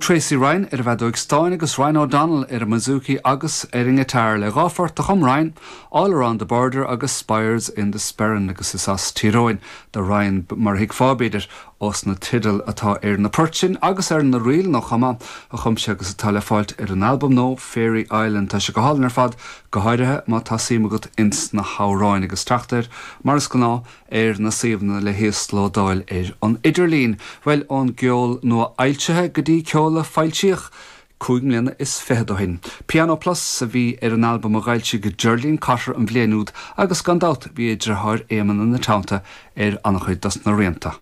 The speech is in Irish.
Tracey Ryan ar an bhfeadóig stáin agus Ryan O'Donnell ar an mbouzouki agus ar an ngiotár le 2 phort a chum Ryan, All Around the Border agus Spires in the Sperrin agus is as Tír Eoghain do Ryan mar a thuigfeá, b'fhéidir, ós na teidil atá ar na poirt sin agus ar na ríleanna chomh maith a chum sé agus atá le fáilt ar an albam nua Fairy Island. Tá sé go hálainn ar fad, go háirithe má tá suim agat ins na hamhráin agus teacht air, mar is gnáth, ar na suíomhanna le híoslódáil ar an idirlíon. Bhuel, ón gceol nua-fhoilsithe go dtí ceol a foilsíodh cúig mbliana is fichead ó shin. Piano Plus a bhí ar an albam a d'fhoilsigh Geraldine Cotter an bhliain úd agus gan dabht bhí a deartháir Éamonn ina teannta ar an-chuid dos na rianta.